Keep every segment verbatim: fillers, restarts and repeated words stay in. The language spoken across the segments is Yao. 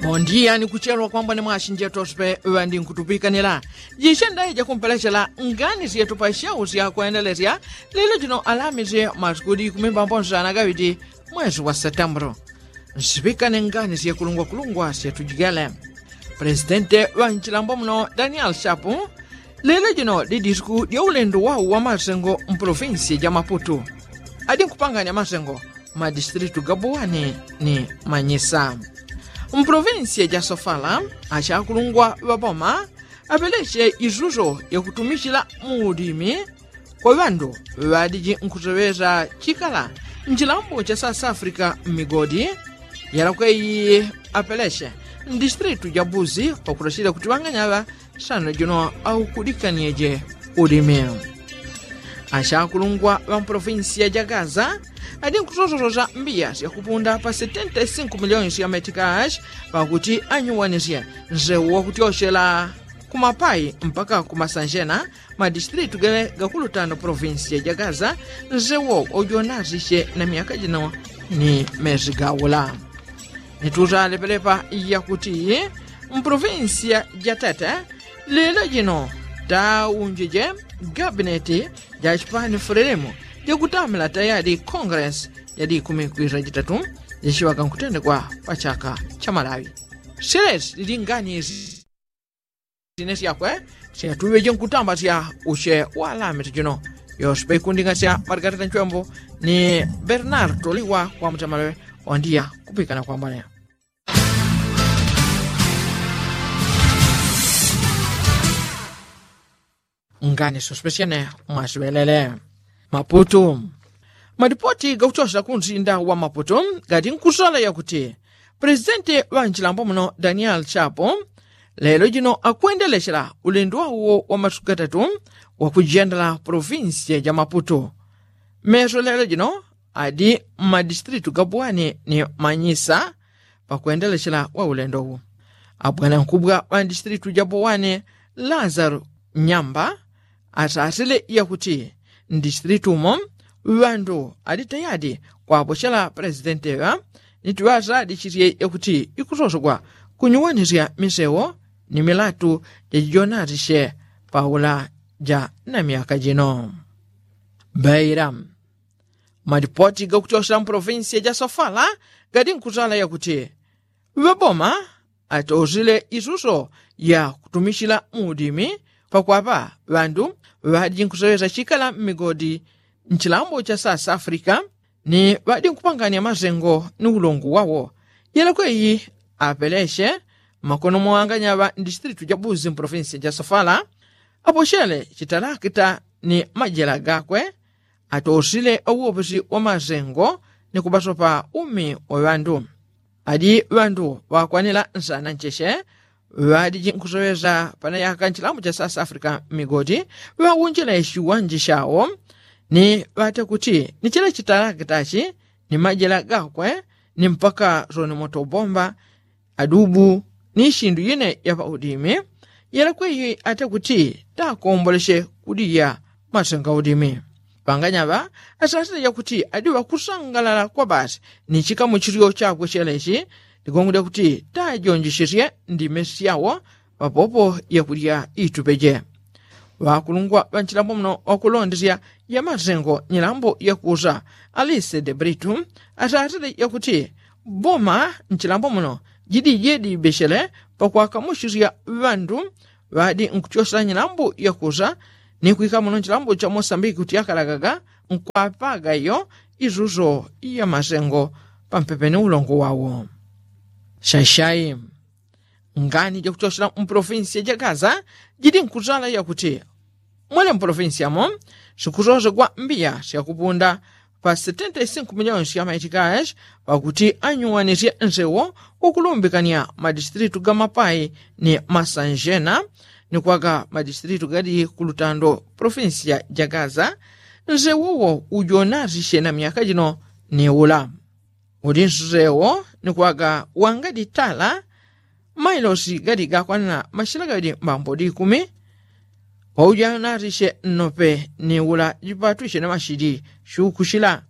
Mondiya ni kuchelwa kwambwa ni mwasinjeto sipe ŵandi nkutupikanila jishendaye jakumpelechela ngani syetu pa shau syakwendelesya lelo jino alamisi masikudi kumi mbambo nsana gawiti mwesi wa setembulu. Nsipikane ngani syekulungwakulungwa syetujigele. Pulesidente ŵa nchilambo muno daniel shapu lelo jino didisiku dya ulendo wau wa masengo mpolofinsi ja maputu. Adi nkupanganya masengo madistilitu ga buwani ni manyisa. Mpolofinsi ja sofala asyakulungwa ŵa boma apeleche isuso yakutumichila muudimi kwa ŵandu ŵadiji nkuseŵesa chikala nchilambo cha south africa mmigodi. Yalakwe iyi apeleche ndistilitu ja buzi pakulachila kuti ŵanganyaŵa sano jino aukudikaniye je ulimi. Asyakulungwa ŵa mpolofinsiya ja gaza adi nkusosososa mbiya syakupunda pa setenta i sinku miliyoni sya metikashi pakuti anyuwanisye nsewu wakutyochela ku mapai mpaka ku masanjena madistilitu gele gakulutano polofinsiya ja gaza. Nsewu ujonasisye na myaka jino ni mesi gaula. Nitusalepelepa yakuti mpolofinsiya ja tete lelo jino taunjije gabineti ja chipani fulelemu jakutamila tayali kongresi yadi ikumi kwisa jitatu jachiŵaka nkutendekwa pa chaka cha malawi. Syelesi lili ngani isi sine syakwe syatuŵeje nkutamba sya usye walame tijino. Yosipe ikunding'asya malikatata nchwembo ni bernard toliwa kwa mutamaleŵe wandiya kupikana kwambone. Ngani sospesyene mwasiŵelele maputu. Malipoti gakuchosela kunsinda wa maputu gati nkusala yakuti pulesidenti ŵa nchilambo muno daniel chapo lelo jino akwendelechela ulendo wauwo wa masuku gatatu wakujendela polofinsiya ja maputu. Meso lelo jino adi mmadistilitu ga buwani ni manyisa. Pakwendelechela wa ulendo uwu abwanankubwa ŵa ndistilitu ja buwani lazaro nyamba asasile yakuti ndistilitu umo ŵandu ali tayadi kwapochela pulesidenti ŵa niti ŵasadichisye yakuti ikusosogwa kunyuwanisya misewo ni milatu jajijonasisye paula ja na myaka jino. Beila malipoti gakuchosela mpolofinsiya ja sofala gadi nkusala yakuti ŵaboma atosile isuso ya kutumichila muudimi pakwapa ŵandu ŵadi nkusewesa chikala mmigodi nchilambo cha south africa ni ŵadi nkupanganya masengo ni ulongo wawo. Yelekwe iyi apeleche makono mwanganya ŵa ndistilitu ja buzi mpolofinsiya ja sofala apochele chitalakita ni majela gakwe atosile ŵauwopesi wa masengo ni kubasopa umi wa ŵandu. Adi ŵandu ŵakwanila nsana ncheche ŵadiji nkusowesa panayaka nchilambo cha south africa mmigodi ŵaunjila ishiwanje shawo ni ŵate kuti ni chila chitalakitachi ni majela gakwe ni mpaka soni motobomba adubu ni ishindu yine ya paudimi. Yelekwe iyi ate kuti takomboleche kudiya masenga udimi. Ŵanganyaŵa asasile yakuti adi ŵakusangalala kwa basi ni chikamu chilyo chakwe chelechi ligongo lyakuti tajonjechesye ndime syawo papopo yakudya itupeje. Ŵakulungwa ŵa nchilambo muno ŵakulondesya ya masengo nyilambo yakusa alise de britu asasile yakuti boma nchilambo muno jidije dibechele pakwakamuchisya ŵandu ŵadi nkuchosela nyilambo yakusa ni kwika muno nchilambo cha mosambiki kuti akalagaga nkwapaga iyo isuso ya masengo pampepe ni ulongo wawo. Shashai ngani jakuchosela mpolofinsiya ja gaza jidi nkusala yakuti mwele mpolofinsiya mo sikusosegwa mbiya syakupunda pa setenta i sinku miliyoni sya maitikashi pakuti anyuwanisye nsewo wakulumbikanya madistilitu ga mapai ni masanjena ni kwaka madistilitu gali ku lutando polofinsiya ja gaza. Nsewo wo ujonasisye na myaka jino ni ula uli nsewo ni kwaka wangadi tala mailosi gali gakwanila mashila gawili mbambo di ikumi. Paujanasisye nnope ni ula jipatwisye na mashili shukushila.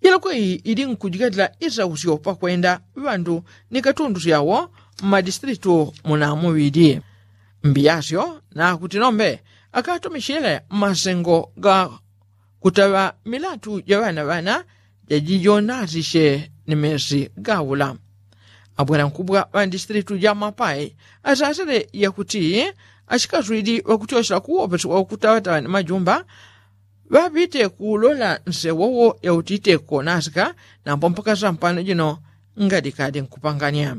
Yelekwe iyi ili nkujigatila isausyo pakwenda ŵandu ni katundu syawo mmadistritu munamuŵili. Mbiyasyo nakuti nombe akatumichile mmasengo ga kutaŵa milatu ja ŵanaŵana jajijonasiche ni mesi gaula. Abwanankubwa ŵa ndistritu ja mapai asasile yakuti achikaswili ŵakutyochela kuwopesi wakutaŵataŵa ni majumba ŵapite kulola nsewowo yautite konasika. Nambo mpaka sampano jino ngadikadi nkupanganya.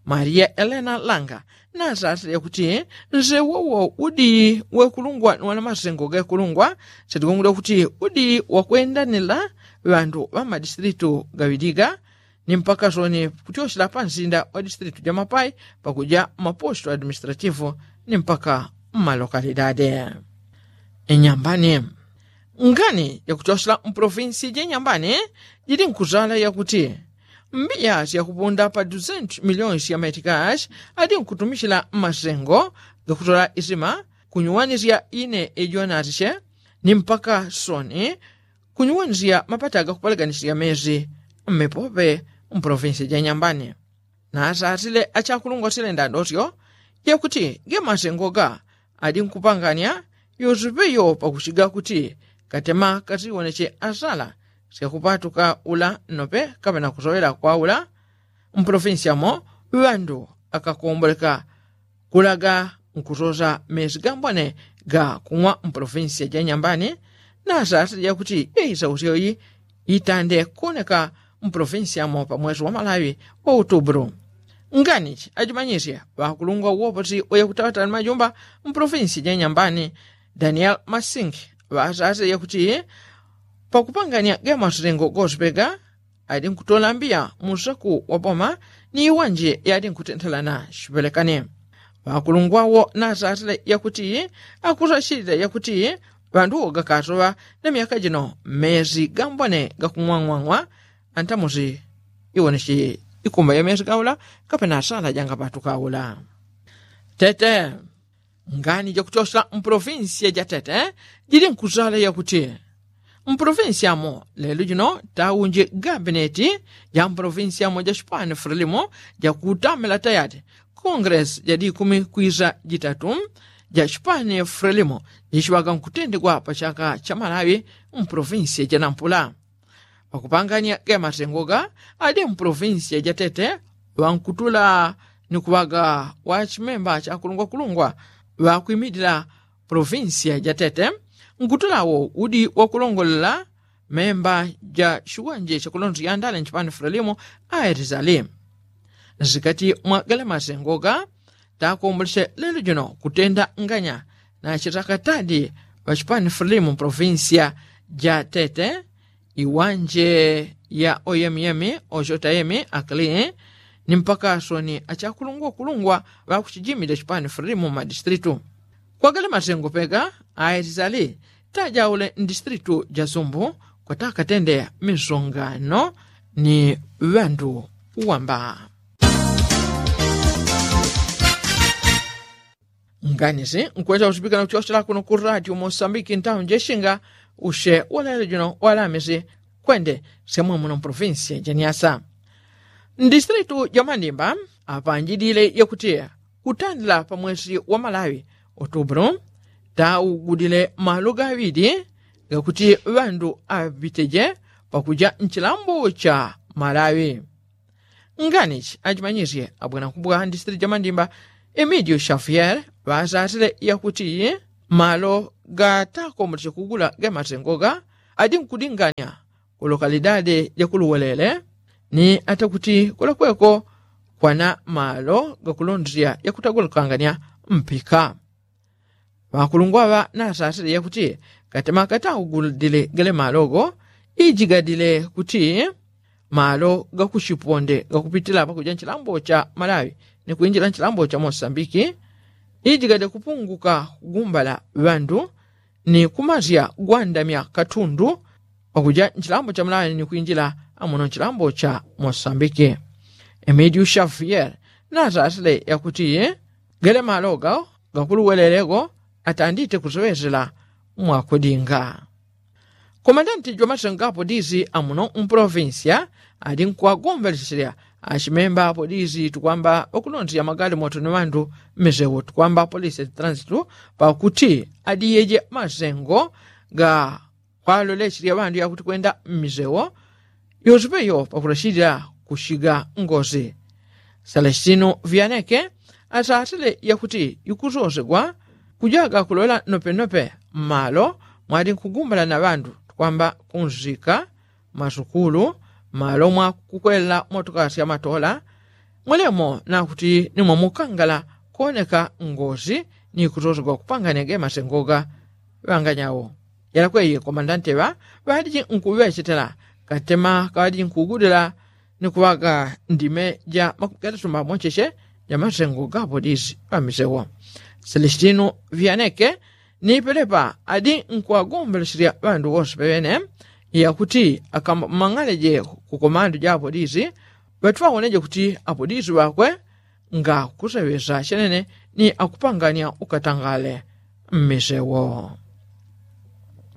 Maria elena langa nasasile yakuti nsewowo udi wekulungwa ni wana masengo gekulungwa. Satigongole kuti udi wakwendanila ŵandu ŵa mmadistritu gaŵiliga ni mpaka soni kutyochela pansinda wa distritu ja mapai pakuja mmaposto administrativu ni mpaka mmalokalidade. Inyambani ngani yakutyochela mpolofinsi ja inyambani jili nkuzala yakuti mbiya syakupunda pa duzentu miliyoni sya maitikashi adi nkutumichila mmasengo gakutola isima kunyuwanisya ine ijonasiche ni mpaka soni kunyuwanisya mapata gakupaleganisya mesi mmipope mpolofinsi ja inyambani. Nasasile achakulungwa sile ndandosyo yakuti gemasengo ga adi nkupanganya yosipeyo pakuchiga kuti katema kasiwoneche asala syakupatuka ula nnope kapena kusowela kwaula. Mpolofinsi yamo ŵandu akakomboleka kulaga nkusosa mesi gambone ga kung'wa mpolofinsi ja inyambani. Nasasile yakuti yeisausyo yi itande kuoneka mpolofinsi yamo pamwesi wa malaŵi wa utubulu. Nganichi ajimanyisye ŵakulungwa uwoposi uya kutawatala ni majumba mpolofinsi ja inyambani daniel masingi ŵasasile yakuti pakupanganya gemasengo gosipega adi nkutola mbiya musaku wa boma ni iwanje yadi nkutentelana sipelekane. Ŵakulungwa wo nasasile yakuti akusachilila yakuti ŵandu wo gakasoŵa na myaka jino mesi gambone gakung'wang'wang'wa antamusi iwoneche ikumba ya mesi gaula kapena asala jangapatuka aula. Tete ngani jakutyochela mpolofinsiya ja tete jili nkuzala yakuti mpolofinsiya mo lelo jino taunji gabineti ja mpolofinsiya mo ja chipani frelimo jakutamela tayati kongresi ja dikumi kwisa jitatu ja chipani frelimo jichiŵaga nkutendegwa pa chaka cha malawi mpolofinsiya ja nampula. Pakupanganya gamasengoga adi mpolofinsiya ja tete ŵankutula ni kuŵaga wachimemba chakulungwakulungwa ŵakwimilila polofinsiya ja tete. Nkutula wo udi wakulongolela memba ja chiwanje chakulondosyandale nchipani frelimo aerizali nsikati mwa gale masengoga takomboleche lelo jino kutenda nganya na chitakatadi ŵachipani frelimo mpolofinsiya ja tete iwanje ya oyemiyemi ochotayemi akli ni mpaka soni achakulungwakulungwa ŵakuchijimile chipani frelimo mmadistritu. Kwagale masengo pega aerizali tajaule ndistritu ja sumbu kwatakatende misongano ni ŵandu wamba. Nganisi nkwesa usipikana kuchochela kuno ku radio mosambiki ntauni jeshinga ushe walelo jino walamisi kwende semwe muno mpolofinsiya ja nyasa. Ndistritu ja mandimba apanjilile yakuti kutandila pa mwesi wa malawi otubulu taugudile malo gaŵili gakuti ŵandu aŵiteje pakuja nchilambo cha malawi. Nganichi achimanyisye abwanankubwa ndisitili ja mandimba emidio shafiere ŵasasile yakuti malo gatakomboleche kugula gemasengoga adi nkudinganya kulokalidade jakuluwelele ni atakuti kulakweko kwana malo gakulondesya yakutagulukanganya mpika. Ŵakulungwa ŵa nasasile yakuti katema kataugudile gale malo go ijigadile kuti malo gakuchiponde gakupitila pakuja nchilambo cha malawi ni kwinjila nchilambo cha mosambiki ijigade kupunguka kugumbala ŵandu ni kumasya gwandamya katundu pakuja nchilambo cha malawi ni kwinjila amuno nchilambo cha mosambiki. Emidio shafiere nasasile yakuti gale malo gao gakuluwelelego atandite kusowesela mwakudinga. Komandanti jwa masengo ga polisi amuno mpolofinsiya ali nkuwagombeleselya Achimemba apolisi tukwamba ŵakulonzya magalimoto ni ŵandu mmisewo tukwamba apolisi ya transitu pakuti adiyeje masengo ga kwalolecherya ŵandu yakuti kwenda mmisewo yosepeyo pakulachilila kushiga ngosi. Selestino vianeke asasile yakuti ikusosegwa kujaga kulola nopenope mmalo mwali nkugumbala na ŵandu tukwamba kunsika masukulu malo mwakukwela motoka syamatola mwelemo nakuti nimwamukangala kuoneka ngosi ni kusosegwa kupanganya gemasengoga ŵanganyawo. Yalakweyi komandante ŵa ŵaliji nkuŵechetela katema kawaliji nkugudila ni kuŵaga ndime ja makumi gatatu mbamocheche ja masengo ga apolisi ŵamisewo. Selestino vianeke ni pelepa adi nkuŵagombelecherya ŵandu wose peŵene yakuti akamang'aleje kukomandu ja apolisi ŵatuŵawoneje kuti apolisi ŵakwe ngakuseŵesa chenene ni akupanganya ukatangale mmisewo.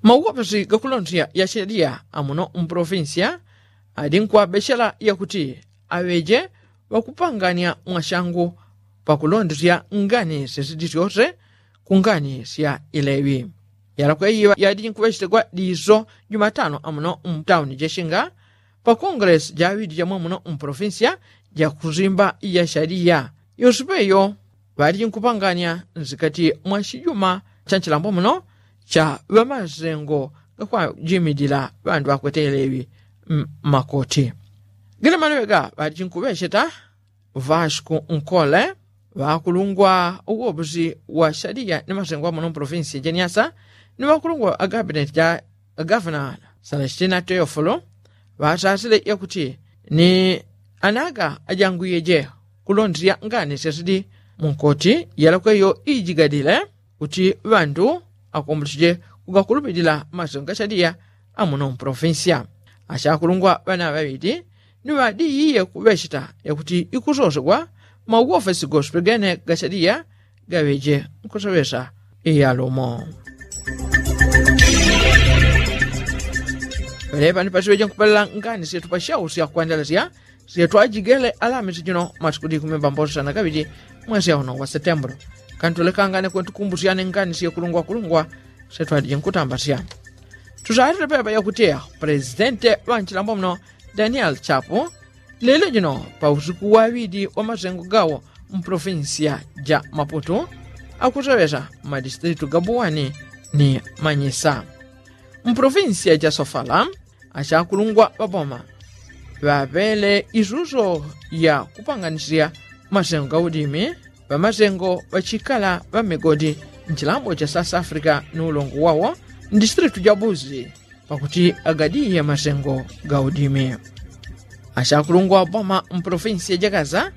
Mauwopesi gakulonzya ya sheliya amuno mprovinsiya adi nkuŵabechela yakuti aŵeje ŵakupanganya mwashangu pakulondesya ngani syesidi syose ku ngani sya ileŵi. Yalakweyi yadi nkuŵechetegwa diso jumatano amuno mtauni jeshinga pa kongelesi jaŵidi jamwamuno mprovinsiya jakusimba ya shaliya yosepeyo ŵaliji nkupanganya nsikati mwa chijuma cha nchilambo muno cha ŵamasengo gakwajimilila ŵandu ŵakwete ileŵi mmakoti. Gele maleŵe ga ŵaliji nkuŵecheta vasco nkole ŵakulungwa uwopusi wa shaliya ni masengo amuno mprovinsi jeniasa ni ŵakulungwa agabineti ja gavana salestina teofolo ŵasasile yakuti ni anaga ajangwiyeje kulondesya ngani syasidi munkoti yalakweyo ijigadile kuti ŵandu akombulechije kugakulupilila masengo gashaliya amuno mprovinsiya. Ashakulungwa ŵana ŵaŵili ni ŵadiyiye kuŵecheta yakuti ikusosegwa mauwofesi goswe gene gashaliya gaŵeje nkuseŵesa iyalumo. Pelepa ni pasiŵeje nkupelela ngani syetu pashausya kwandalasya syetu ajigele alamisi jino masiku dikumi mbambosa na gaŵili mwesi auno wa setembro. Kantulekangane kwentukumbusyane ngani syekulungwakulungwa syetu adije nkutambasya. Tusalile pepa yakuti aho pulezidente ŵanchilambo muno daniel chapu lelo jino pa usiku waŵili wa masengo gawo mpolofinsiya ja maputu akuseŵesa mmadistritu ga buwani ni manyisa. Mpolofinsiya ja sofala achakulungwa ŵaboma ŵaŵele isuso ya kupanganisya masengo ga udimi ŵamasengo ŵachikala ŵa mmigodi nchilambo cha south africa ni ulongo wawo mdistritu ja buzi pakuti agadiye masengo ga udimi. Achakulungwa ŵaboma mpolofinsiya ja gaza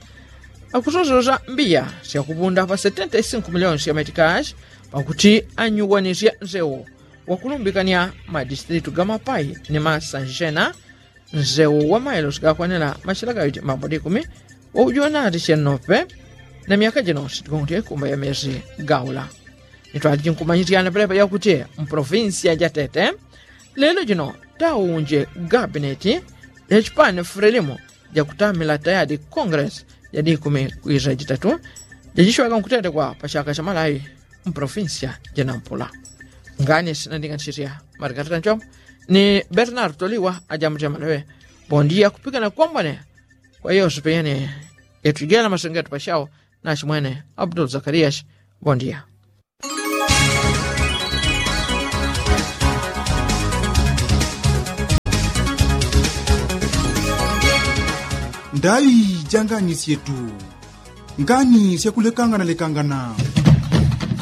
akusososa mbiya syakupunda pa setenta isinko miliyoni sya metikashi pakuti anyuwanisya nsewo wakulumbikanya madistritu ga mapai ni masanjena nsewo wa mailosi gakwanila machila gaŵiti mbambo dikumi waujonati chenope. Na myaka jino sitigongote kumba ya mesi gaula nitwaliji nkumanyisyana pelepa yakuti mpolofinsiya ja tete lelo jino taunje gabineti ya chipani fulelimo jakutamila tayadi kongelesi ja dikumi kwisa jitatu jajiswaga nkutetekwa pa chaka cha malawi mpolofinsiya ja nampula. Ngani sinandinganisisya marikatata nchombo ni bernardo liwa ajamutya maleŵe. Bondiya kupikana kwambone kwa yose peyene yatujela masengeto pachao nachimwene abdul zakariyashi. Bondiya. Ndaŵi ja ngani syetu ngani syakulekanganalekangana.